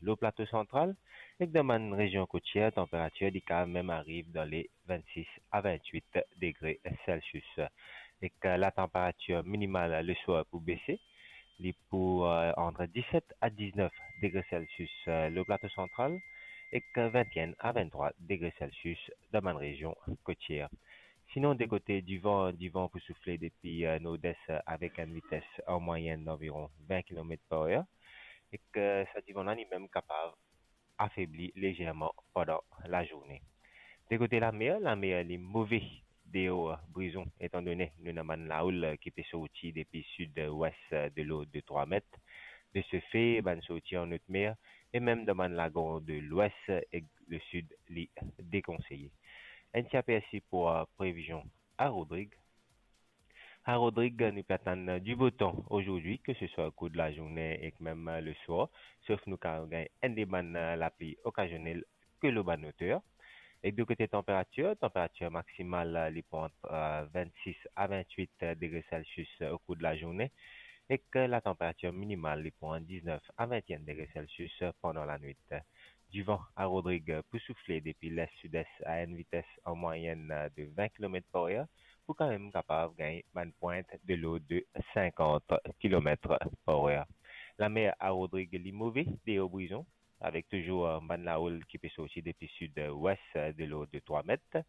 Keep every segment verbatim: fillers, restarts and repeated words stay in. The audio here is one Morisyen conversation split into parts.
lor Plato Santral, ek dan bann rezion kotier, tanperatir li kapav mem ariv dan le vennsis a vennwit degre Celsius. Ek, eh, latanperatir minimal leswar pou bese, li pou, eh, ant diset a diznef degre Celsius, eh, lor Plato Santral, ek vennenn a venntrwa degre Celsius dan bann rezion kotier. Sinon, de kote divan, divan pou soufle depi, eh, nordes, eh, avek enn vites an mwayenn danviron vin kilomet par er, ek, eh, sa divan la limem kapav afebli lezerman pandan lazourne. De kote lamer, lamer li move deor Brison, etandone nou ena bann laoul ki pe sorti depi sid-wes de lord de trwa met. De se fe, bann sorti an ot mer e mem dan bann lagon de lwes ek lesid li dekonseye. Enn ti apersi pou, eh, previzion a Rodrig. A Rodrig, nou pe atann du beau temps ozordi, ke se swa o kour de lazourne ek mem leswar, sof nou kapav gagn enn de bann lapli okazionel ke lor bann oter. Ek de kote tanperatir, tanperatir maksimal, li pou ant, eh, vennsis a vennwit degre Celsius o kour de lazourne, ek latanperatir minimal, li pou ant diznef a vennenn degre Celsius pandan lanwit. Divan a Rodrig pou soufle depi les-sides a enn vites an mwayenn de vin kilomet par er, pou kanmem kapav gagn bann pwint de lord de sinkant kilomet par er. Lamer a Rodrig li move deor Brison, avek touzour, eh, bann laoul ki pe sorti depi sid-wes, eh, de lord de trwa met.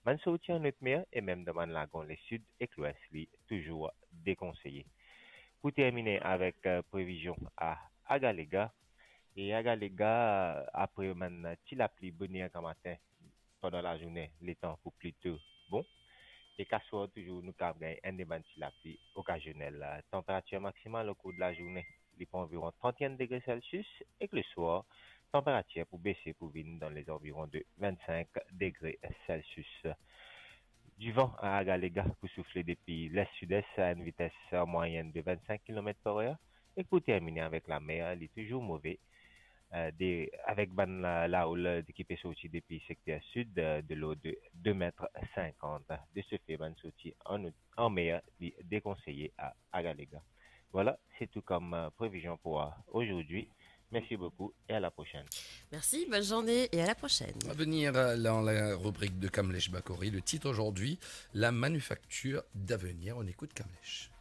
Bann sorti an ot mer e mem dan bann lagon lesid ek lwes li touzour dekonseye. Pou termine avek, eh, previzion a Agalega, e Agalega, apre bann ti lapli boner gramatin pandan lazourne, letan pou plito bon. Ek aswar touzour, nou kapav gagn enn de bann ti lapli okazionel. Tanperatir maksimal o kour de lazourne, li pou anviron trant-enn degre Celsius, ek leswar, tanperatir pou bese pou vinn dan lezanviron de vennsink degre Celsius. Divan a Agalega pou soufle depi les-sides a enn vites an mwayenn de vennsink kilomet par er, e pou termine avek lamer, li touzour move, eh, de, avek bann la, laoul ki pe sorti depi sekter sid, eh, de lord de de met sinkant. De se fe, bann sorti an, an mer, li dekonseye a Agalega. Voilà, c'est tout comme, eh, previzion pou, eh, ozordi. Merci beaucoup et à la prochaine. Merci, bonne journée et à la prochaine. À venir, euh, dans la rubrique de Kamlesh Bakori, le titre aujourd'hui, la manufacture d'avenir. On écoute Kamlesh.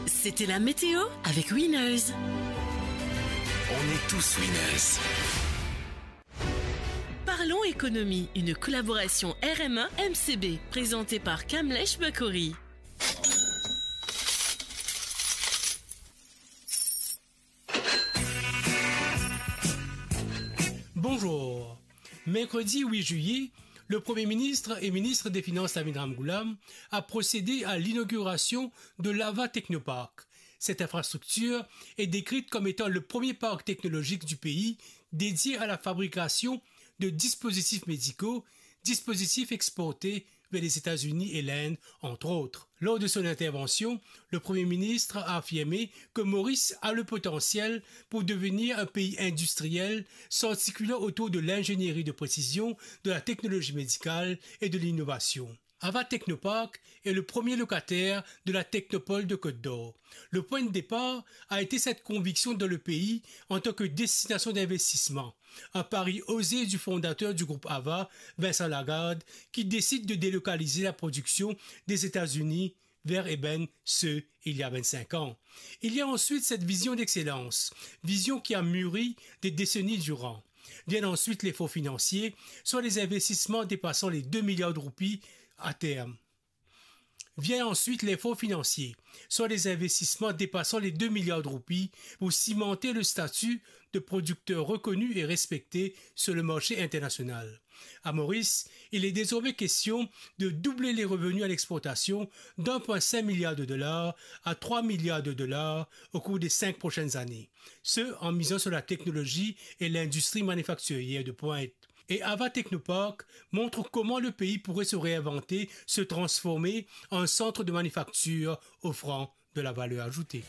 C'était la météo avec Winners. On est tous winners. Parlons économie, une collaboration R M A M C B, présentée par Kamlesh Bakori. Bonjour. Mercredi huit juillet, le Premier ministre et ministre des Finances Lamin Ramgoolam a procédé à l'inauguration de l'Ava Technopark. Cette infrastructure est décrite comme étant le premier parc technologique du pays dédié à la fabrication de dispositifs médicaux, dispositifs exportés vers les États-Unis et l'Inde, entre autres. Lors de son intervention, le Premier ministre a affirmé que Maurice a le potentiel pour devenir un pays industriel s'articulant autour de l'ingénierie de précision, de la technologie médicale et de l'innovation. Ava Technopark est le premier locataire de la Technopole de Côte d'Or. Le point de départ a été cette conviction dans le pays en tant que destination d'investissement. Un pari osé du fondateur du groupe Ava, Vincent Lagarde, qui décide de délocaliser la production des États-Unis vers Eben, ce, il y a vingt-cinq ans. Il y a ensuite cette vision d'excellence, vision qui a mûri des décennies durant. Viennent ensuite les fonds financiers, soit les investissements dépassant les deux milliards de roupies à terme. Vient ensuite l'effort financier, soit des investissements dépassant les deux milliards de roupies pour cimenter le statut de producteur reconnu et respecté sur le marché international. À Maurice, il est désormais question de doubler les revenus à l'exportation d'un point cinq milliard de dollars à trois milliards de dollars au cours des cinq prochaines années. Ce, en misant sur la technologie et l'industrie manufacturière de pointe. Et Ava Technopark montre comment le pays pourrait se réinventer, se transformer en centre de manufacture offrant de la valeur ajoutée.